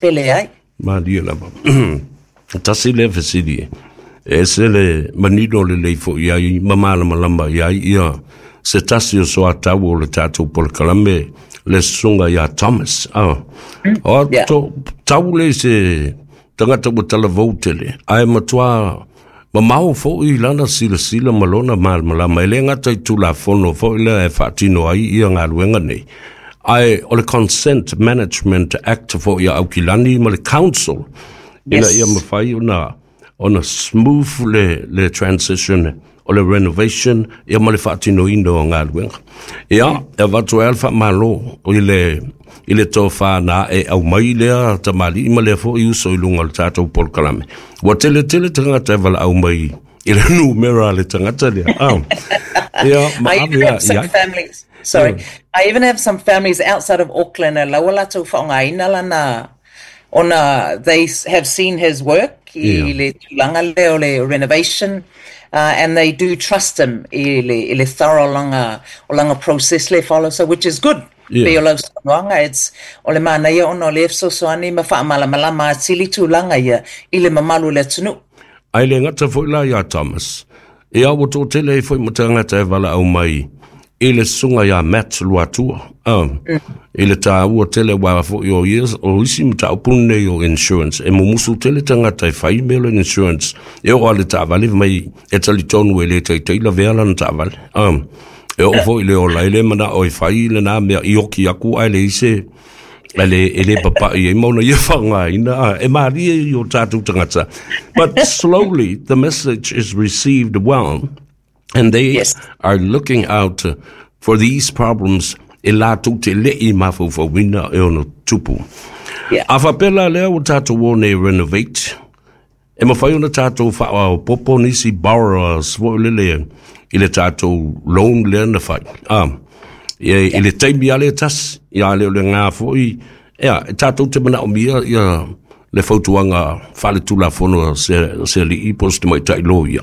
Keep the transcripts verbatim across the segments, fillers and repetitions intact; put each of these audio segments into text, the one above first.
Pele ai. Malie lava. Tasi lea fesili e ese le manino lelei fo'i ai ma malamalama i ai ia se tasi o soatau o le tatou polokalame, le susuga iā Thomas a o Yeah. to tau le se tagata ua talavou tele ae matuā mamao fo'i lana silasila ma lona malamalama, e lē gata i tulafono fo'i lea e faatino ai ia galuega nei, ae o le Consent Management Act fo'i a Aukilani ma le council ina Yes. ia mafai ona ona smooth le, le transition o le renovation ia ma le faatinoina o galuega. Ia, e avatu ai le faamalo i le i le tofa na e aumai lea tamalii ma lea fo'i uso i luga o le tatou polokalame. Ua tele tele tagata e valaau mai i le numera a le tagata lea. Ah. Ia, ma I even ave a have some i ai. families. Sorry, I even have some families outside of Auckland. E laua latou faaaogaina lana ona they s- have seen his work i Yeah. le tulaga lea o le renovation. Uh, and they do trust him i le, i le thorough langa, o langa process le follow, so which is good. Yeah. Pe o lau saunoaga, it's o le manaia ona o le fesoasoani ma faamalamalama atili tulaga ia i le mamalu o le atunuu. Ai le gata foi la iā Thomas. Ia ua toatele ai foi ma tagata e valaau mai i le susuga iā Matt Luatua. Ah, I le tāua tele wa foi o ia o isi mataupu nei o insurance. E mumusu tele tagata e fai mea o le insurance. E oo lava le taavale mai e talitonu e le taitai lavea lana taavale. Ah, e oo foi le ola e le manao e fai lenā mea i oki aku ae leai se e le, e le papa'i ai ma ona ia faaaogaina ah, e malie i o tatou tagata. But slowly the message is received well and they Yes. are looking out for these problems e latou te le'i mafaufauina e ono tupu. Yeah. A faapea la lea ua tatou o nei renovate, e mafai ona tatou faaopoopo nisi borrowers foi lele i le tatou loan lea na fai. Ah, i, i le taimi a le tasi, ia le o le ngā foi, ia, e tatou te manaomia ia le fautuaga faaletulafono se, se alii po o se tamaitai loia.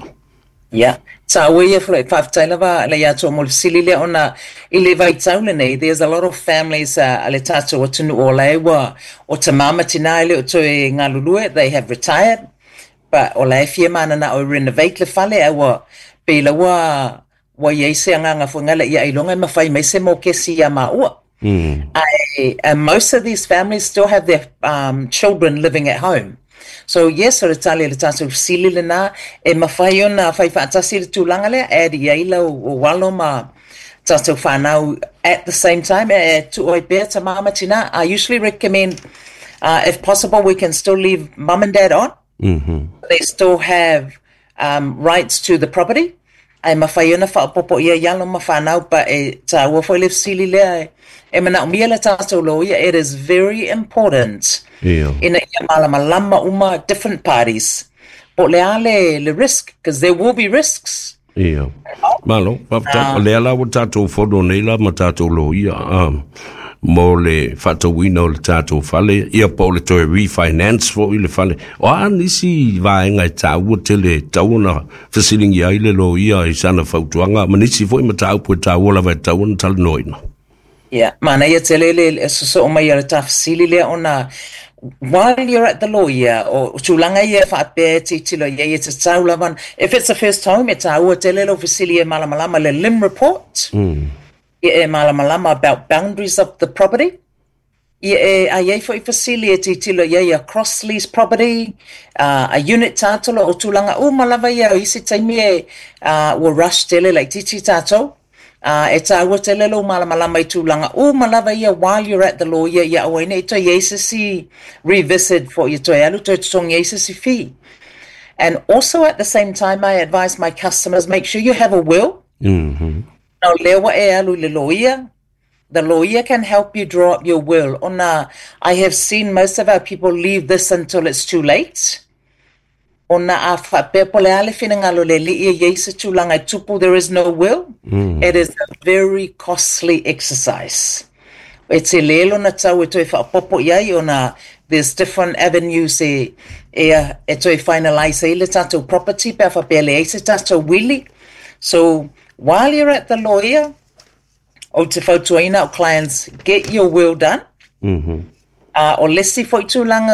Yeah. Tāua ia fo faafetai lava le ia mo le fesili lea ona i le vaitau lenei, there's a lot of families uh, a le tatou atunuu o lae ua o tamā ma tinā e le o toe galulue, they have retired, but o lae fia mananao e renovate le fale a ua pe la ua ua iai se agaga foi gale ia ailoga e mafai mai se mokesi ia maua. Mm. I, and most of these families still have their um, children living at home. So yes, o le tali le tatou fesili lenā e mafai ona fai faatasi le tulaga lea, add i ai lau o alo ma tatou whanau at the same time e tuu ai pea tamā ma tinā. I usually recommend, uh, if possible, we can still leave mum and dad on. Mm-hmm. They still have um, rights to the property. Ae mafai ona faaopoopo ia i alo ma whanau, pa e tāua foi le fesili lea e, e manaomia le tatou loia. It is very important Ia. ina ia malamalama uma different parties. Po le a le, le risk, because there will be risks. Ia. Malo, faafetai. O lea la ua tatou fono nei la ma tatou loia um, mo le faatauina o le tatou fale, ia po o le toe refinance foi le fale. O a nisi vaega e tāua tele tatau ona fesiligia ai le loia i sana fautuaga ma nisi foi mataupu e tāua lava e tatau ona talanoaina? Yeah, manaia tele le le sosoo mai o le tafesili lea ona while you're at the lawyer o tulaga ia faapea e tilotilo i ai e tatau lava, if it's a first home, e tāua tele lau fesili e malamalama le L I M report Mm. ia e malamalama about boundaries of the property ia e a iai foi fesili e tilotilo i ai a cross lease property, uh, a unit title o tulaga uma lava ia o isi taimi e uh, ua rush tele laitiiti tatou uh, e tāua tele lou malamalama i tulaga uma lava ia while you're at the lawyer ia aua ai nei toe iai se isi revisit for ia toe alu toe totogi ai se isi fee. And also at the same time, I advise my customers, make sure you have a will. Mm-hmm. Na o lea ua e alu i le lawyer, the lawyer can help you draw up your will. Ona I have seen most of our people leave this until it's too late. Ona a faapea po le a le finagalo le alii e iai se tulaga e tupu, there is no will. Mm. It is a very costly exercise. E tele lona tau e toe faaopoopo i ai ona there's different avenues e, e, e toe finalize ai le tatou property pe a faapea leai se tatou wili. So while you're at the lawyer, ou te fautuaina o clients, get your will done. Mm-hmm. A o le isi foi tulaga